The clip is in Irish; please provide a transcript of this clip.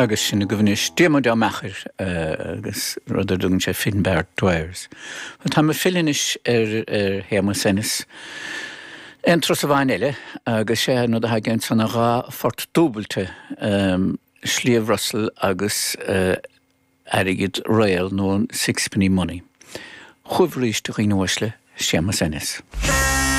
Agus sin agaibh anois Diarmuid Ó Meachair agus rud ar dtugann sé Finbar Dwyers. Bhuel, táim ag filleadh anois ar Shéamus Ennis. Aon turas amháin eile agus sé an rud atá aige ansan ná dha phort dúbailte, Sliabh Russell agus Airgead Réal nó an Sixpenny Money. Chugaibh arís, a dhaoine uaisle, Séamus Ennis.